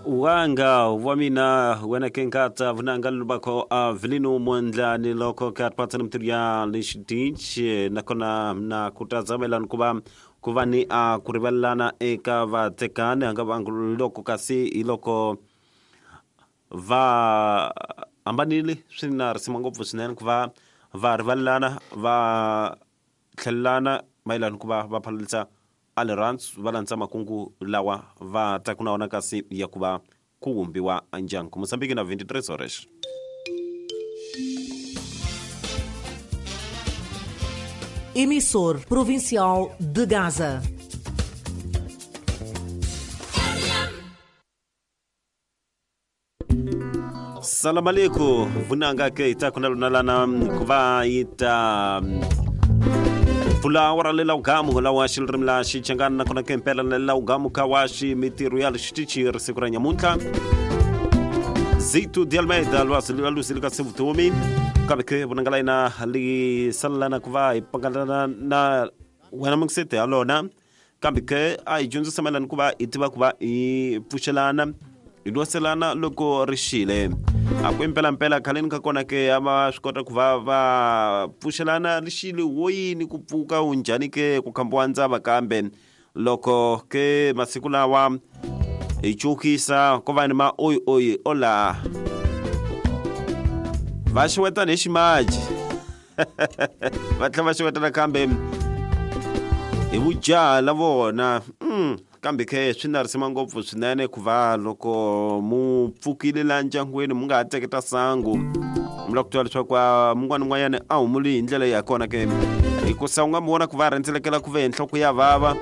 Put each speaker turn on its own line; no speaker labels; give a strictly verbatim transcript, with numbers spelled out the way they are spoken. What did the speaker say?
Wanga wa mina wena ke nkata vunanga lubako Avelino Mondlane loko ka patana mtirya lexidinchi nakona na kutazamela kuva kuva ni a kurivalana eka vatekani anga vangu loko kasi iloko va ambanile swi na risima ngopfu swinene ku va va rivalelana va tlhelelana mayelana ku va va phalalisa a rirhandzu va landza makungu lawa va taku na wona kasi ya ku va ku vumbiwa ndyangu. Mozambique na vinte e três horas.
Emissor Provincial de Gaza.
Salam alaikum vunanga ke itaku na lunalana ku va ita pfula wa ra lela ugamu lawa xilirimi la Xichangana nakona ke impela lela ugamu ka wa ximitirho ya xitichi ri siku ra nyamuntlha Zito de Almeida lwasi lwalusi lika sevutomi kambe ke vunanga la yina li salelana ku va hi pangalana na wena mungisete ya lona kambe ke a hi dyondzisa mayelana ku va hi tiva ku va hi pfuxelana hi lwaselana loko ri xile a ku impelampela khaleni ka kona ke a va swi kota ku va va pfuxelana ri xile wo yini ku pfuka u njhani ke ku khambiwa ndzava kambe loko ke masiku lawa hi cukisa ko va ni ma oyi oyi ola va xewetana hi ximaji va tlhela va xewetana kambe hi vujaha la vona mm. kambe ke swi na risima ngopfu swinene ku va loko mu pfukile la ndyangwini mu nga ha teketa sangu mi lava ku tiva leswaku mun'wana un'wanyana a humuli hi ndlela ya kona ke hikusa u nga mi vona ku va rhendzelekela ku ve hi nhloko ya vava